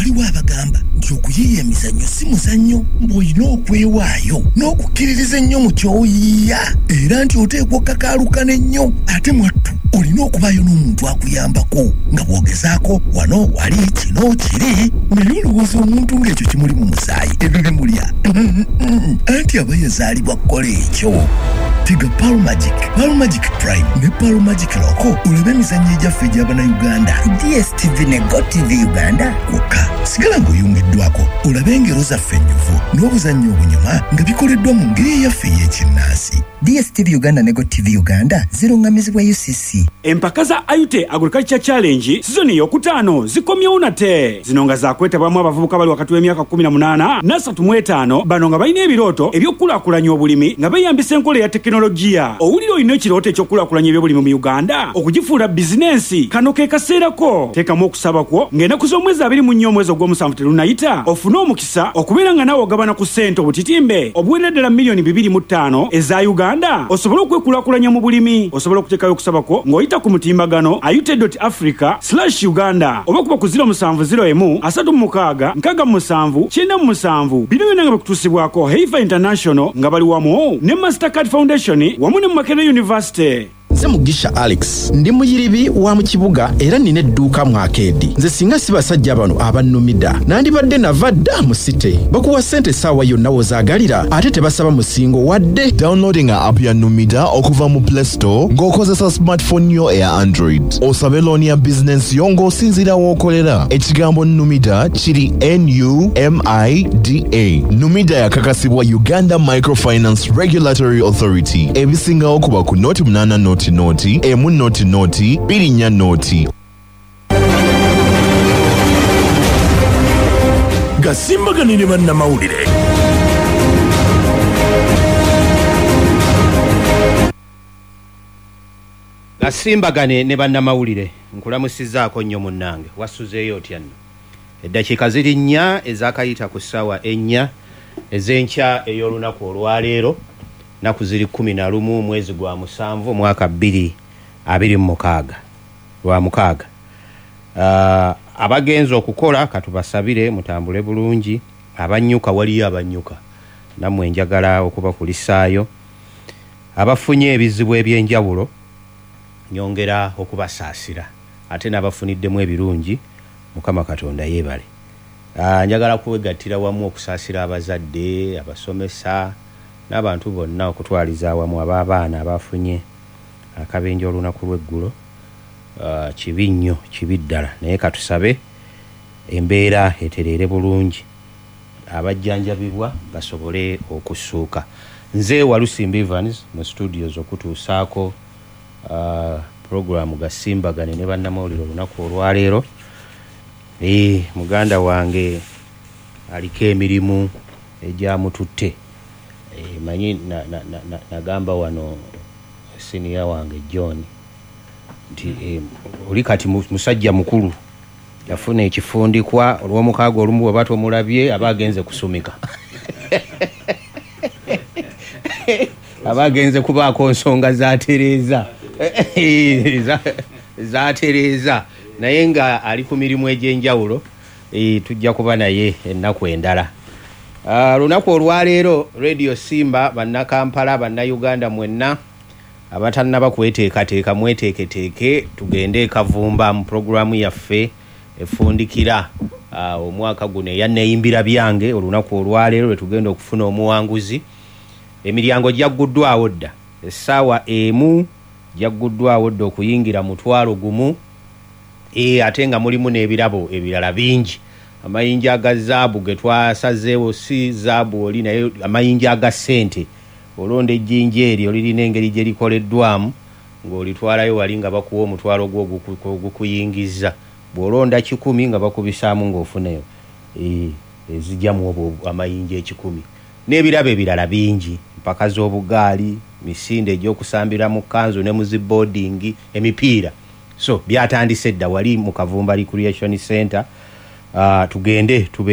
Waliwo abagamba nti okuyiiya emizannyo si muzannyo, mbw'olina okwewaayo n'okukkiririza ennyo mu ky'oyiiya, era nti oteekwa okkakaalukana ennyo, ate mwattu olina okubaayo n'omuntu akuyambako nga bw'ogezaako wano wali kino kiri. Naye olowooza omuntu ng'ekyo kimuli mu musaayi ebyo bimulya? Anti aba yazaalibwa kukola ekyo. Tega Pearl Magic, Pearl Magic Prime ne Pearl Magic Loco olabe emizannyo egyaffe egy'Abannayuganda ku DSTV ne GOtv Uganda kwokka. Sigala ng'oyungiddwako olabe engero zaffe ennyuvu n'obuzannyo obunyuma nga bikoleddwa mu ngeri eyaffe ey'ekinnansi. DSTV Uganda ne GOtv Uganda ziruŋŋamizibwa UCC. Empaka za Ayute Agriculture Challenge sizoni ey'okutaano zikomyewo nate. Zino nga zaakwetabwamu abavubuka abali wakati w'emyaka 18 n'35 bano nga balina ebirooto eby'okukulaakulanya obulimi nga beeyambisa enkola eya tekinologiya. Owulira olina ekirooto eky'okukulaakulanya ebyobulimi mu Uganda okugifuula bizinensi? Kano ke kaseera ko. Teekamu okusaba kwo ng'enaku z'omwezi 24 omwezi ogw'omusanvu terunnayita ofune omukisa okubeera nga naawe ogabana ku ssente obutitimbe obuwerera ddala 5,000,000 eza Uganda osobole okwekulaakulanya mu bulimi. Osobola okuteekayo okusaba kwo ng'oyita ku mutimbagano ayute dot africa slash Uganda oba kuba ku ziro musanvu ziro emu asatu mu mukaaga nkaaga mu musanvu kyenda mu musanvu. Bino byonna nga bikutuusibwako Heifer International nga bali wamu ne Mastercard Foundation wamu ne Makerere University. Nze Mugisha Alex, ndi muyiribi wa mu kibuga era nnina edduuka mu akeedi. Nze singa si basajja bano abannumida, nandibadde nava dda mu site. Bakuwa ssente essaawa yonna w'ozaagalira ate tebasaba musingo wadde. Downloadinga app ya Numida okuva mu Play Store ng'okozesa smartphone yo eya Android. Osabe looni ya bizinensi yo ng'osinziira w'okolera. Ekigambo Numida kiri N-U-M-I-D-A. Numida yakakasibwa Uganda Microfinance Regulatory Authority. Ebisingawo kuba ku noti 8 noti noti emu noti noti 2 4 noti. Gasimbagane ne bannamawulire. Gasimbagane ne bannamawulire. Nkulamusizzaako nnyo munnange, wasuzeeyo otya nno? Eddakiika ziri nnya ezaakayita ku ssaawa ennya ez'enkya ey'olunaku olwaleero, nnaku ziri 11 mwezi gwa musanvu omwaka 2026, lwa mukaaga. Abagenze okukola katubasabire mutambule bulungi, abannyuka waliyo abannyuka nammwe njagala okubakulisaayo. Abafunye ebizibu eby'enjawulo nyongera okubasaasira, ate n'abafuniddemu ebirungi Mukama Katonda yeebale. Njagala kwegattira wamu okusaasira abazadde, abasomesa n'abantu bonna okutwaliza awamu ab'abaana abafunye akabenje olunaku lw'eggulo. Kibi nnyo, kibi ddala, naye katusabe embeera etereere bulungi, abajjanjabibwa basobole okussuuka. Nze Walusimbi Evans mu studios okutuusaako pulogulaamu Gasimbagane ne bannamawulire olunaku olwaleero. Muganda wange aliko emirimu egyamututte. Manyi nagamba wano siniya wange John nti oli kati musajja mukulu, yafuna ekifundikwa olw'omukaaga olumu bw'oba tomulabye aba agenze kusumika, aba agenze kubaako nsonga zatereeza zatereeza, naye nga ali ku mirimu egy'enjawulo. Tujja kuba naye ennaku endala. Lunaku olwaleero Radio Simba, bannakampala, bannayuganda mwenna abatannaba kweteekateeka mweteeketeeke tugende e Kavumba mu pulogulaamu yaffe efundikira omwaka guno eya Neeyimbira Byange. Olunaku olwaleero lwe tugenda okufuna omuwanguzi. Emiryango gyagguddwawo dda essaawa emu, gyagguddwawo dda okuyingira 10,000, ate nga mulimu n'ebirabo ebirala bingi. Amayinja aga zaabu ge twasazeewo si zaabu oli, naye amayinja aga ssente. Olonda ejjinja eryo lirina engeri gye likoleddwamu ng'olitwalayo wali nga bakuwa omutwalo gwo ogukuyingiza. Bw'olonda 100 nga bakubisaamu ng'ofuna ezijjamu obwo amayinja 100. N'ebirabo ebirala bingi, mpaka z'obugaali, misinde egy'okusambira mu kkanzu ne mu ziboodingi, emipiira. So byatandise dda wali mu Kavumba Recreation Center. Tugende tubeere.